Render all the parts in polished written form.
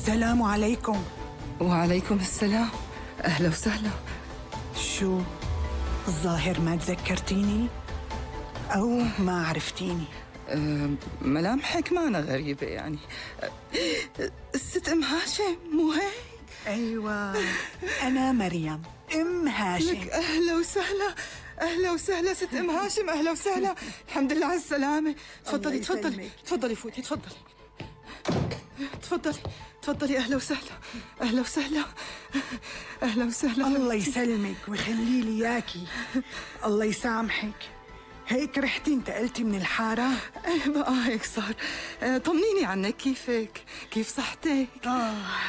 السلام عليكم. وعليكم السلام، أهلا وسهلا. شو الظاهر ما تذكرتيني أو ما عرفتيني؟ ملامحك معنا غريبة يعني. الست أم هاشم مو هيك؟ أيوة أنا مريم أم هاشم. لك أهلا وسهلا، أهلا وسهلا ست أم هاشم، أهلا وسهلا. الحمد لله على السلامة. تفضلي تفضلي تفضلي فوتي تفضلي تفضلي تفضلي. أهلا وسهلا أهلا وسهلا أهلا وسهلا. الله يسلمك ويخلي لي إياكي. الله يسامحك. هيك رحتي انتقلتي من الحارة؟ ايه بقى هيك صار. طمنيني عنك، كيفك؟ كيف صحتك؟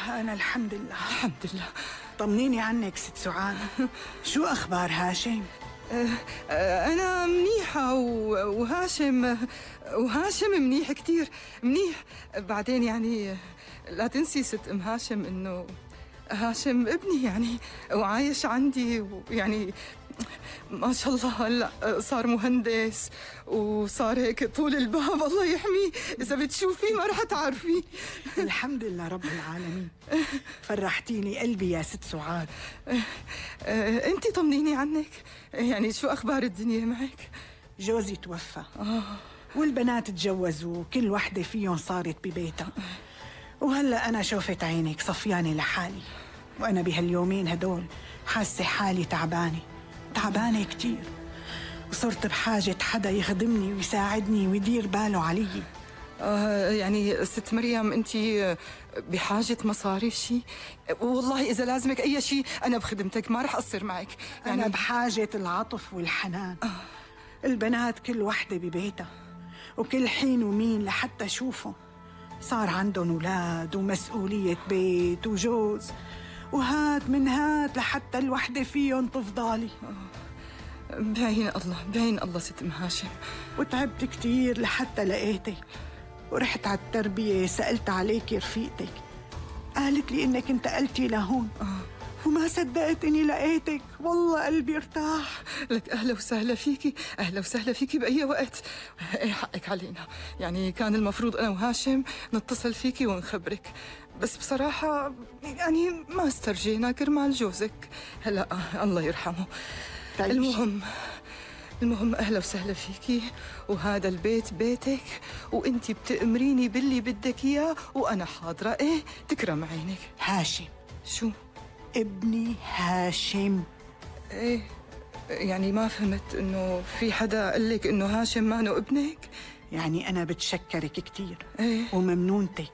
أنا الحمد لله. الحمد لله. طمنيني عنك ست سعاد. شو أخبار هاشم؟ أنا منيحة وهاشم منيح كتير منيح. بعدين يعني لا تنسي ست أم هاشم إنه هاشم ابني يعني وعايش عندي، ويعني ما شاء الله هلا صار مهندس وصار هيك طول الباب. الله يحميه، إذا بتشوفيه ما رح تعرفيه. الحمد لله رب العالمين. فرحتيني قلبي يا ست سعاد. أنتي طمنيني عنك، يعني شو أخبار الدنيا معك؟ جوزي توفى والبنات تجوزوا وكل وحدة فيهم صارت ببيتها، وهلأ أنا شوفت عينك صفيانة لحالي، وأنا بهاليومين هدول حاسة حالي تعبانة كتير، وصرت بحاجة حدا يخدمني ويساعدني ويدير باله علي. يعني ست مريم أنت بحاجة مصاري شي؟ والله إذا لازمك أي شي أنا بخدمتك، ما رح أقصر معك. يعني أنا بحاجة العطف والحنان. البنات كل وحدة ببيتها، وكل حين ومين لحتى أشوفهم صار عندهم أولاد ومسؤولية بيت وجوز، وهات من هات لحتى الوحدة فيهم تفضالي. بعين الله ست أم هاشم. وتعبت كتير لحتى لقيتك، ورحت على التربية سألت عليك رفيقتك، قالت لي إنك انتقلتي لهون. وما صدقت إني لقيتك، والله قلبي ارتاح. لك أهلا وسهلا فيكي، أهلا وسهلا فيكي بأي وقت. إيه حقك علينا، يعني كان المفروض أنا وهاشم نتصل فيكي ونخبرك، بس بصراحة يعني ما استرجينا كرمال جوزك. هلا الله يرحمه. المهم أهلا وسهلا فيكي، وهذا البيت بيتك، وانتي بتأمريني باللي بدك إياه وأنا حاضرة. إيه تكرم عينك. هاشم. شو؟ ابني هاشم. إيه يعني ما فهمت، إنه في حدا قال لك إنه هاشم مانو ابنك؟ يعني أنا بتشكرك كتير. إيه؟ وممنونتك.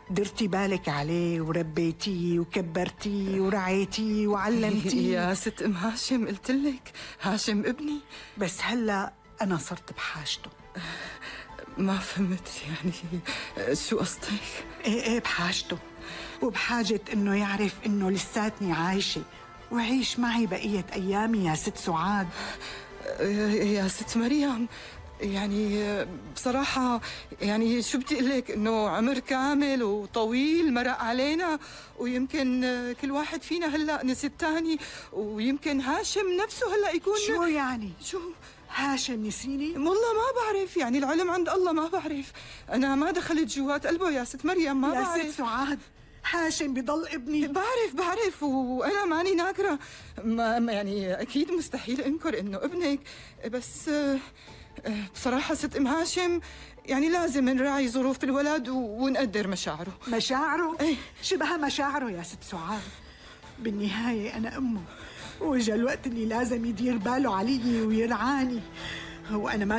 درتي بالك عليه وربيتيه وكبرتيه ورعيتيه وعلمتيه. يا ست أم هاشم قلتلك هاشم ابني. بس هلأ أنا صرت بحاجته. ما فهمت يعني شو قصدك؟ ايه بحاجته، وبحاجة إنه يعرف إنه لساتني عايشة وعيش معي بقية أيامي يا ست سعاد. يا ست مريم يعني بصراحة يعني شو بدي أقول لك، إنه عمر كامل وطويل مرق علينا، ويمكن كل واحد فينا هلأ نسي الثاني، ويمكن هاشم نفسه هلأ يكون. شو يعني؟ شو هاشم نسيني؟ والله ما بعرف، يعني العلم عند الله، ما بعرف. أنا ما دخلت جوات قلبه يا ست مريم، ما بعرف. يا ست سعاد هاشم بضل ابني. بعرف وأنا ماني ناكرة، ما يعني أكيد مستحيل أنكر إنه ابنك، بس بصراحة ست أم هاشم يعني لازم نراعي ظروف الولد ونقدر مشاعره. مشاعره؟ ايه شبه مشاعره يا ست سعاد. بالنهاية أنا أمه، وإجا الوقت اللي لازم يدير باله علي ويرعاني، وأنا ما